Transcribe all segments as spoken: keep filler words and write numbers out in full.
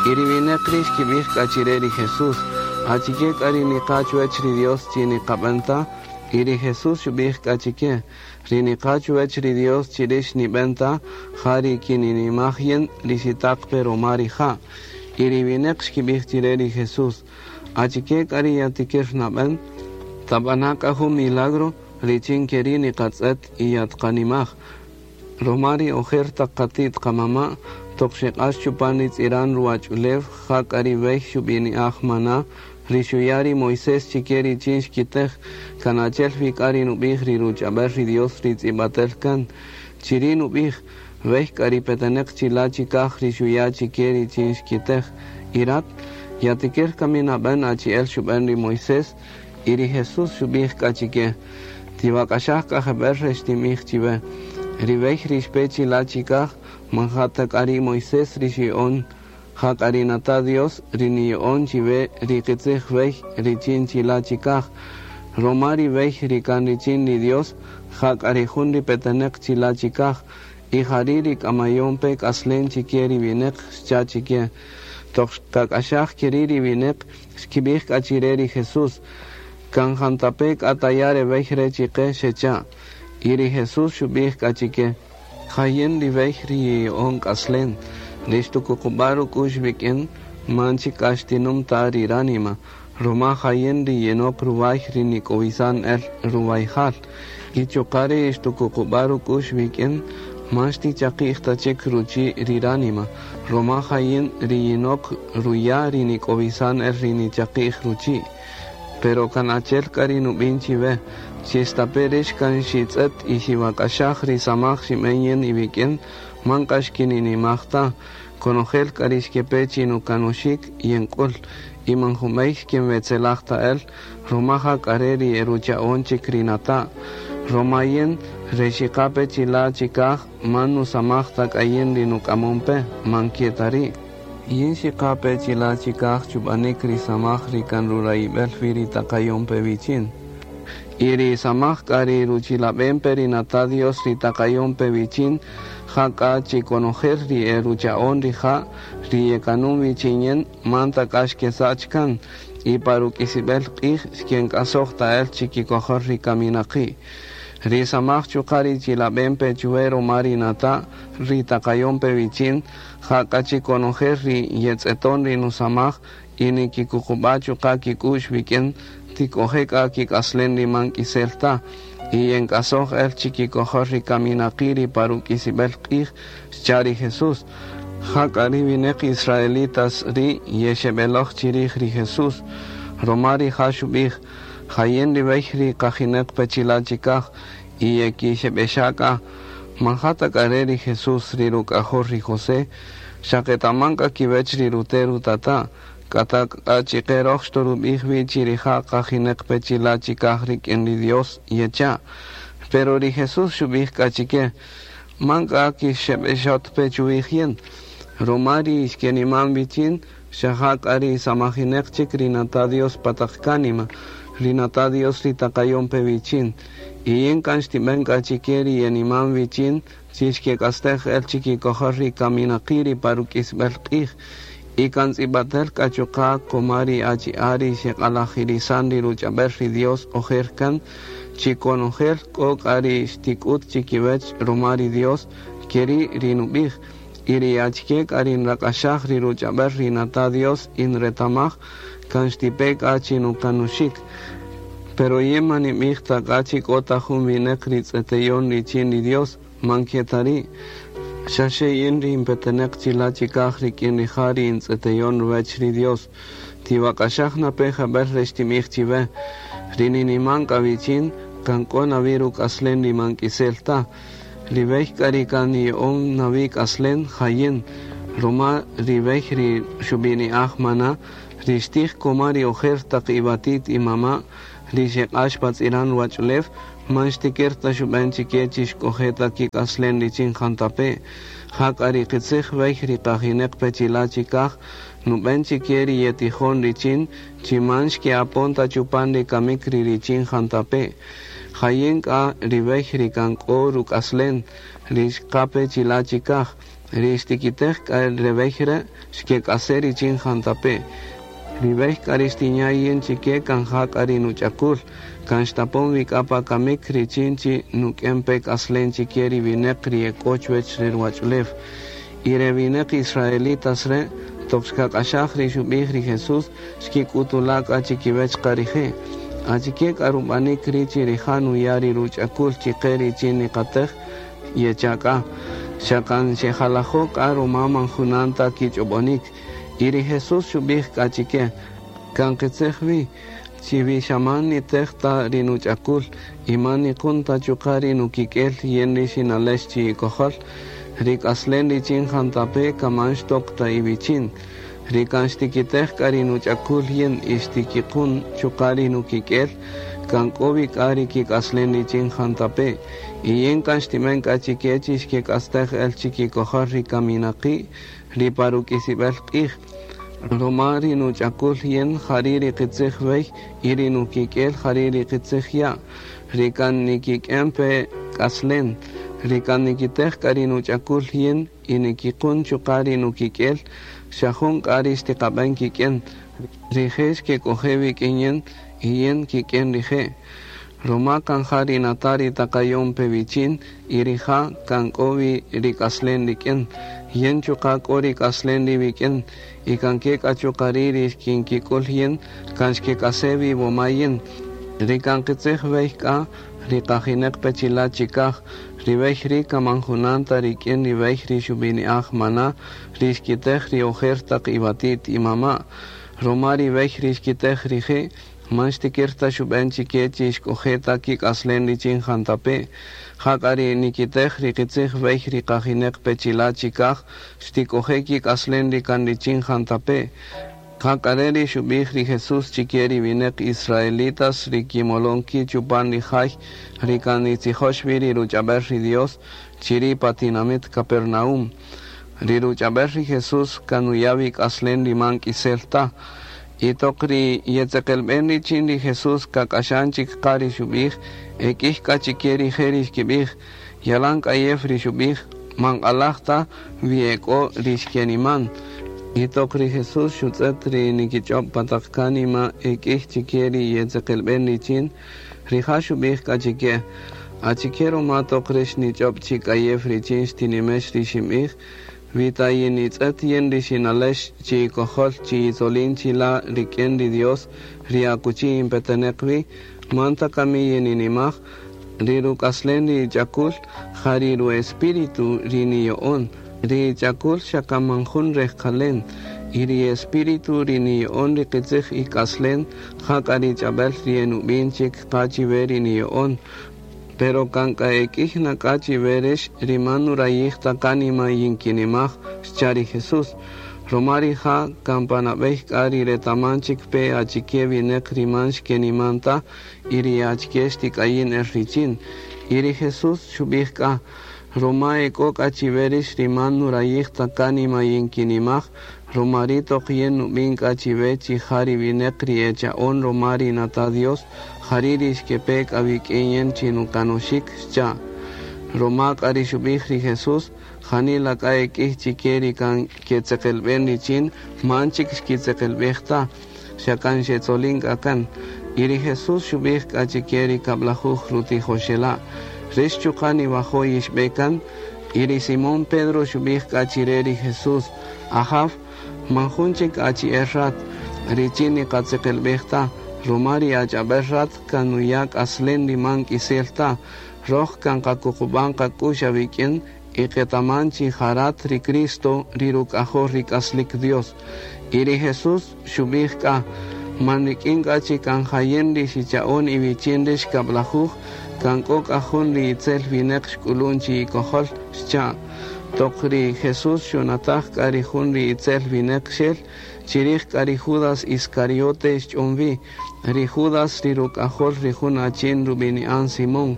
Y ri wineq ri' xkib'ij k'a chi re ri Jesús: Achike k'a ri niqa' chuwech ri Dios chi niqab'en ta? Y ri Jesús xub'ij k'a chike: Ri niqa' chuwech ri Dios chi rix nib'en ta, ja ri kininimaj yin ri xitaq pe roma rija'. Y ri wineq xkib'ij chi re ri Jesús: Achike k'a ri yatikir nab'en? Tab'ana' k'a jun milagro richin keri' niqatz'et y yatqanimaj. Roma ri ojer taq qati't qamama' toq xeq'ax chupan ri tz'iran ruwach'ulew ja k'a ri b'ey xub'ini'aj maná ri xuya' ri Moisés chike richin xkitej kan achi'el wi k'a ri nub'ij ri ruch'ab'el ri Dios ri tz'ib'atel kan. Chiri' nub'ij b'ey k'a ri peteneq chila' chikaj ri xuya' chike richin xkitej. Y rat yatikir kami nab'en achi'el xub'en ri Moisés. Y ri Jesús xub'ij k'a chike: Tiwak'axaj k'a jeb'ël re xtinb'ij chiwe. Ri b'ey ri xpe chila' chikaj man ja ta k'a ri Moisés ri xya'on, ja k'a ri nata' Dios ri niya'on chiwe ri qitzij b'ey richin chila' chikaj. Roma ri b'ey ri kan richin ri Dios, ja k'a ri jun ri peteneq chila' chikaj, y jari' ri k'amayon pe k'aslen chike ri wineq xcha' chike. Toq xkak'axaj keri' ri wineq xkib'ij k'a chi re ri Jesús: Kan jantape' k'a taya' re b'ey re' chike xecha'. Y ri Jesús xub'ij k'a chike: Jayin ri b'ey ri yiya'on k'aslen, ri xtukuqub'a' ruk'u'x wik'in man chik k'a xtinum ta ri ránima, roma jayin ri yenok ruway ri nik'owisan el ruwayjal. Y chuqa' ri xtukuqub'a' ruk'u'x wik'in man xtichaqi'j ta chik ruchi' ri ránima, roma jayin ri yinok ruya' ri nik'owisan el ri nichaqi'j ruchi'. Pero kan achi'el k'a ri nub'in chiwe, chi estape' rix kan xitz'et y xiwak'axaj ri samaj xinb'en yin iwik'in, man k'a xkininimaj ta. Konojel k'a ri xkepe chi nukanuxik yenk'ul, y man junb'ey xkinwetzelaj ta el, roma ja k'a re' ri erucha'on chik ri nata'. Roma yin re xiqape chila' chikaj man nusamaj ta k'a yin ri nuk'amon pe, man ke ta ri'. Yin xiqape chila' chikaj chub'anik ri samaj ri kan rurayib'el wi ri taqayon pe wichin. Y ri samaj k'a ri ruchilab'en pe ri nata' Dios ri taqayon pe wichin, ja k'a chi konojel ri erucha'on rija' ri yekanun wichin yin man ta k'a xkesach kan, y pa ruk'isib'el q'ij xkenk'asoj ta el chikikojol ri kaminaqi'. Ri samaj chuqa' ri chilab'en pe chuwe roma ri nata' ri taqayon pe wichin, ja k'a chi konojel ri yetz'eton ri nusamaj y nikikuqub'a' chuqa' kik'u'x wik'in, tik'oje' k'a kik'aslen ri man k'isel ta, y yenk'asoj el chikikojol ri kaminaqi' ri pa ruk'isib'el q'ij, xcha' ri Jesús. Ja k'a ri wineq israelitas ri yexeb'eloj chirij ri Jesús, roma rija' xub'ij: Jayin ri b'ey ri qajineq pe chila' chikaj, y yekixeb'exa' k'a. Man ja ta k'a re' ri Jesús ri ruk'ajol ri José, xa qetaman k'a kiwech ri rute' rutata', k'a ta k'a chike roj xtorub'ij wi chi rija' qajineq pe chila' chikaj rik'in ri Dios yecha'. Pero ri Jesús xub'ij k'a chike: Man k'a kixeb'exot pe chuwij yin, roma ri xkeniman wichin, xa ja k'a ri samajineq chik ri nata' Dios pa taq kánima, ri nata' Dios ri taqayon pe wichin. Y yin kan xtib'en k'a chike ri yeniman wichin, chi xkek'astej el chikikojol ri kaminaqi' ri pa ruk'isb'el q'ij. Y kan tz'ib'atel k'a chuqa' koma ri achi'a' ri xeq'alajirisan ri ruch'ab'el ri Dios ojer kan, chi konojel k'o k'a ri xtik'ut chikiwech roma ri Dios, keri' ri nub'ij. Y ri achike k'a ri nrak'axaj ri ruch'ab'el ri nata' Dios y nretamaj, kan xtipe k'a chi nukanuxik. Pero yin man ninb'ij ta k'a chi k'o ta jun wineq ri tz'eteyon richin ri Dios, man ke ta ri'. Xa xe yin ri inpeteneq chila' chikaj rik'in rija' ri intz'eteyon ruwech ri Dios. Tiwak'axaj na pe jeb'ël re xtinb'ij chiwe. Ri niniman k'a wichin, kan k'o nawi ruk'aslen ri man k'isel ta. Ri b'ey k'a ri kan niya'on nawi k'aslen jayin, roma ri b'ey ri xub'ini'aj maná, ri xtij koma ri ojer taq iwatit imama', ri xeq'ax pa tz'iran ruwach'ulew, man xtikir ta xub'en chike chi xk'oje' ta kik'aslen richin jantape'. Ja k'a ri qitzij b'ey ri qajineq pe chila' chikaj, nub'en chike ri yetijon richin, chi man xke'apon ta chupan ri kamik ri richin jantape'. Jayin k'a ri b'ey ri kan k'o ruk'aslen, ri xqape chila' chikaj. Ri xtikitej k'a re bey re' xkek'ase' richin jantape'. Ri bey k'a ri xtinya' yin chike kan ja k'a ri nuch'akul, kan xtapon wi k'a pa kamik richin chi nuk'en pe k'aslen chike ri wineq ri e k'o chuwech re ruwach'ulew. Y re wineq israelitas re' toq xkak'axaj ri xub'ij ri Jesús xkik'utula' k'a chikiwech qa rije'. Achike k'a rub'anik ri chi rija' nuya' ri ruch'akul chike richin niqatej yecha' k'a. Xa kan xejalajo' k'a ruma man junan ta kich'ob'onik. Y ri Jesús xub'ij k'a chike, kan qitzij wi, chi wi xa man nitej ta ri nuch'akul y man niqun ta chuqa' ri nukik'el yin ri xinalex chi ikojol, ri k'aslen richin jantape' kaman xtok ta iwichin. Ri kan xtikitej k'a ri nuch'akul yin y xtikiqun chuqa' ri nukik'el, kan k'o wi k'a ri kik'aslen richin jantape'. Y yin kan xtimen k'a chike chi xkek'astej el chikikojol ri kaminaqi' ri pa ruk'isib'el q'ij. Ruma ri nuch'akul yin jari ri qitzij wey y ri nukik'el jari ri qitzij ya'. Ri kan nikik'en pe k'aslen. Ri kan nikitej k'a ri nuch'akul yin y nikiqun chuqa' ri nukik'el, xa jun k'a ri xtiqab'en kik'en. Rije' xkek'oje' wik'in yin y yin kik'en rije'. Ruma kan ja ri nata' ri taqayon pe wichin y rija' kan k'o wi ri k'aslen rik'in. Yin chuqa' k'o ri k'aslen ri wik'in y kan ke k'a chuqa' ri' ri xkinkik'ul yin kan xkek'ase' wi woma yin. Ri kan qitzij wey k'a ri qajineq pe chila' chikaj, ri wey ri' kaman junan ta rik'in ri wey ri xub'ini'aj maná ri xkitej ri ojer taq iwati't imama'. Ruma ri wey ri xkitej rije' man xtikir ta xub'en chike chi xk'oje' ta kik'aslen richin jantape'. Ja k'a ri nikitej ri qitzij wey ri qajineq pe chila' chikaj xtik'oje' kik'aslen ri kan richin jantape'. Ja k'a re' ri xub'ij ri Jesús chike ri wineq israelitas ri kimolon ki' chupan ri jay ri kan nitzijox wi ri ruch'ab'el ri Dios chiri' pa tinamit Capernaum. Ri ruch'ab'el ri Jesús kan nuya' wi k'aslen ri man k'isel ta. Y toq ri yetzeqelb'en richin ri Jesús kak'axan chik qa ri xub'ij, ek'ij k'a chike rije' ri xkib'ij, yalan k'ayew ri xub'ij, man q'alaj ta wi ek'o ri xkeniman. Y toq ri Jesús xutz'et ri nikich'ob' pa taq kánima ek'ij chike ri yetzeqelb'en richin, rija' xub'ij k'a chike, achike ruma toq rix nich'ob' chi k'ayew richin xtinimex ri xinb'ij, wi ta yinitz'et yin ri xinalex chi ikojol chi yitzolin chila' rik'in ri Dios ri akuchi inpeteneq wi, man ta kami yininimaj, ri ruk'aslen ri ch'akul ja ri ruespíritu ri niyo'on. Ri ch'akul xa kan man jun rejqalen y ri espíritu ri niyo'on ri qitzij ik'aslen ja k'a ri ch'ab'el ri enub'in chik qa chiwe ri niyo'on. Pero kan k'a ek'ij na k'a chiwe rix ri man nurayij ta kánima yinkinimaj, xcha' ri Jesús. Ruma rija' kan pa nab'ey k'a ri retaman chik pe achike wineq ri man xkeniman ta y ri achike xtik'ayin el richin. Y ri Jesús xub'ij k'a, ruma ek'o k'a chiwe rix ri man nurayij ta kánima yinkinimaj, ruma ri toq yin nub'in k'a chiwe chi ja ri wineq ri echa'on ruma ri nata Dios, jari' ri xkepe k'a wik'in yin chi nukanoxik, xcha'. Ruma k'a ri xub'ij ri Jesús, janila k'a ek'ij chike ri kan ketzeqelb'en richin, man chik xkitzeqelb'ej ta, xa kan xetzolin k'a kan. Y ri Jesús xub'ij k'a chike ri kab'lajuj rutijoxela', rix chuqa' niwajo' yixb'e kan. Y ri Simón Pedro xub'ij k'a chire ri Jesús, Ajaw, man jun chik achi'el rat, richin niqatzeqelb'ej ta, ruma ri ach'ab'el rat kan nuya' k'aslen ri man k'isel ta, roj kan qakuqub'an qak'ux awik'in y qetaman chi ja rat ri Cristo ri ruk'ajol ri k'aslik Dios. Y ri Jesús xub'ij k'a, man rik'in k'a chi kan jayen ri xicha'on iwichin rix kab'lajuj, kan k'o k'a jun ri itzel wineq xk'ulun chi ikojol, xcha'. Toq ri Jesús xunataj k'a ri jun ri itzel wineq xel, chirij k'a ri Judas Iscariote xch'on wi, ri Judas ri ruk'ajol ri jun achin rub'ini'an Simón.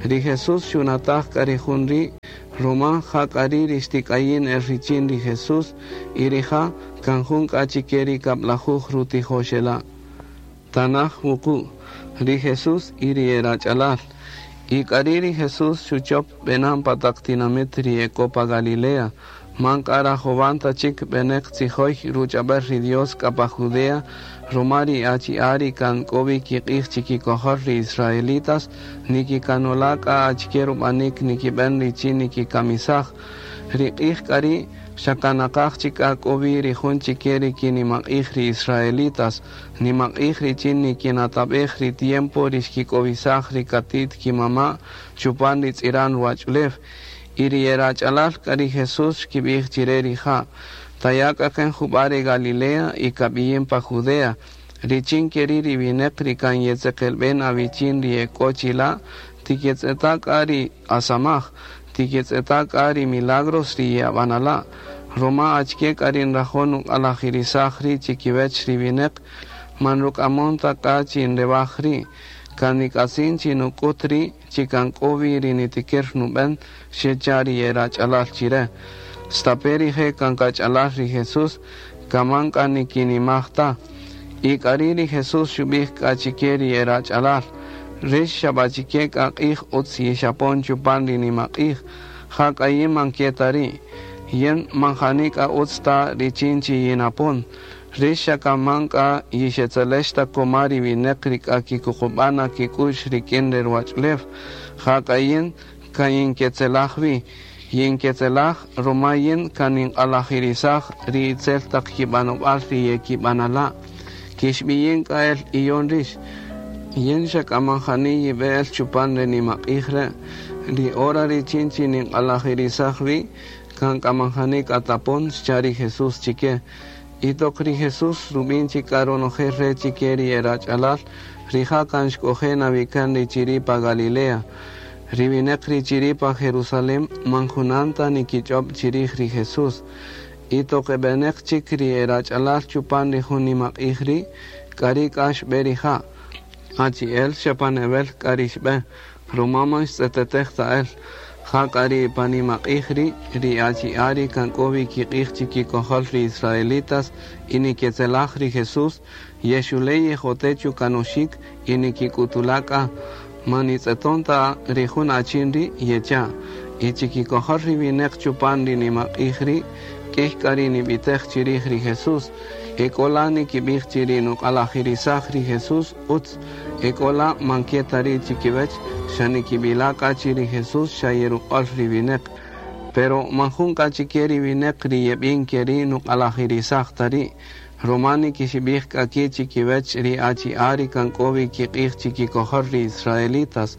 Ri Jesús xunataj k'a ri jun ri' ruma ja k'a ri' ri xtik'ayin el richin ri Jesús y rija' kan jun k'a chike ri kab'lajuj rutijoxela'. Tanaj wuqu', ri Jesús y ri erach'alal. Y k'a ri' ri Jesús xuchop b'enan pa taq tinamit ri ek'o pa Galilea, Man k'a rajowan ta chik b'eneq tzijoy ruch'ab'äl ri Dios k'a pa Judea, ruma ri achi'a' ri kan k'o wi kiq'ij chikikojol ri israelitas, nikikanola' k'a achike rub'anik nikib'en richin nikikamisaj. Ri q'ij k'a ri' xa kan naqaj chik k'a k'o wi ri jun chike ri kinimaq'ij ri israelitas, nimaq'ij richin nikinatab'ej ri tiempo ri xkik'owisaj ri kati't kimama' chupan ri tz'iran ruwach'ulew. Y ri erach'alal k'a ri Jesús xkib'ij chire rija', taya' k'a kan jub'a' re Galilea y kab'iyin pa Judea, richin keri' ri wineq ri kan yetzeqelb'en awichin ri ek'o chila', tiketz'eta' k'a ri asamaj, tiketz'eta' k'a ri milagros ri ye'ab'anala', ruma achike k'a ri nrajo' nuq'alajirisaj ri' chikiwech ri wineq, man ruk'amon ta k'a chi nrewaj ri', kan nik'atzin chi nuk'ut ri' chi kan k'o wi ri nitikir nub'en, xecha' ri erach'alal chire. Stape' rije' kan kach'alal ri Jesús, kaman k'a nikinimaj ta. Y k'ari' ri Jesús xub'ij k'a chike ri erach'alal, rix xab'achike k'a q'ij utz yixapon chupan ri nimaq'ij, ja k'a yin man ke ta ri', yin man jani k'a utz ta richin chi yinapon. Rix xa kaman k'a yixetzelex ta koma ri wineq ri k'a kikuqub'an kik'u'x rik'in ri ruwach'ulew, ja k'a yin kan yinketzelaj wi, yinketzelaj ruma yin kan ninq'alajirisaj ri itzel taq kib'anob'al ri yekib'anala'. Kixb'iyin k'a el iyon rix, yin xa k'a man jani yib'e el chupan ri nimaq'ij re', ri hora richin chi ninq'alajirisaj wi, kan k'a man jani k'a tapon xcha' ri Jesús chike. Y toq ri Jesús rub'in chik k'a ronojel re' chike ri erach'alal, rija' kan xk'oje' nawikan ri chiri' pa Galilea. Ri wineq ri chiri' pa Jerusalén man junan ta nikich'ob' chirij ri Jesús. Y toq eb'eneq chik ri erach'alal chupan ri jun nimaq'ij ri', k'ari' k'a xb'e rija'. Achi'el xa pan ewel k'a ri xb'e, ruma man xtz'etetej ta el. Ja k'a ri pa nimaq'ij ri', ri achi'a' ri kan k'o wi kiq'ij chikikojol ri israelitas y niketzelaj ri Jesús, yexule' yejote' chukanoxik y nikik'utula' k'a, man nitz'eton ta ri jun achin ri' yecha'. Y chikikojol ri wineq chupan ri nimaq'ij ri', k'ih k'a ri nib'itej chirij ri Jesús. Ek'o la nikib'ij chi ri nuq'alajirisaj ri Jesús utz, ek'o la man ke ta ri' chikiwech, xa nikib'ila' k'a chi ri Jesús xa yeruq'ol ri wineq. Pero man jun k'a chike ri wineq ri yeb'in ke ri' nuq'alajirisaj ta ri', ruma nikixib'ij k'a ki' chikiwech ri achi'a' ri kan k'o wi kiq'ij chikikojol ri israelitas.